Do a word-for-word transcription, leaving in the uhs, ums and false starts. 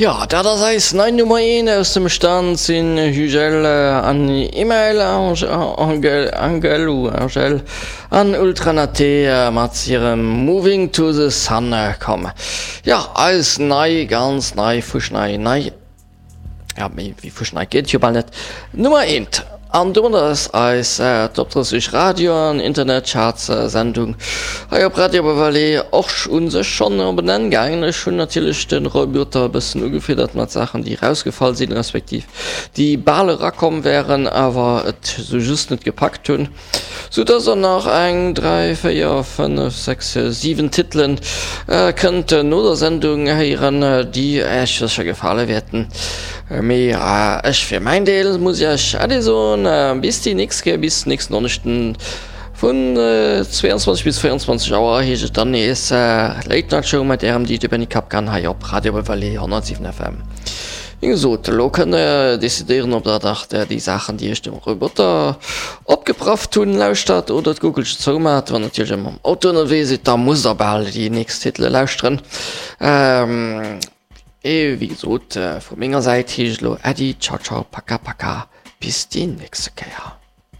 Jo, dat ass eis nei Nummer eent aus dem Stand, sinn Hugel an Email Angel, Angel ou Angel an Ultranate mat hirem Moving to the Sun komm. Jo, eis nei, ganz nei, fuschnei nei. Ja, méi wéi fuschnei geet et jo bal net. Nummer eent. An domadder ass eis Top drësseg Radio an Internetcharts Sendung hei op Radio Bavale och u sech schonn op en Enn gaangen. Ech hunn natierlech de Roy Buerter e bëssen ugefiddert mat Saachen, déi erausgefall sinn, respektiv déi bal erakomm wären, awer et sou just net gepackt hunn. Sou dass der nach eng, dräi, véier, fënnef, sechs, siwen Titelen kënnt no der Sendung héieren, déi Äech sécher gefale wäerten. Mee ech fir mäin Deel muss Iech Äddi soen, bis déi nächst Kéier, bis nächsten Donneschden vun zweiundzwanzeg bis véierundzwanzeg Auer heescht et dann nees Late Night Show mat Ärem D J Benny Kapkan hei op Radio Vallée honnertsiwen F M. Wéi gesot, elo kënnt der decidéieren, ob der nach déi Saachen, déi ech dem Roboter opgeprafft hunn, lauschtert oder d'Guckelche zoumaat. Wann der natierlech mam Auto ënnerwee sidd, da musst der bal déi nächst Titele lauschteren. Mee wéi gesot, vu menger Säit heescht et elo Äddi, ciao ciao, paka paka, bis déi nächste Kéier.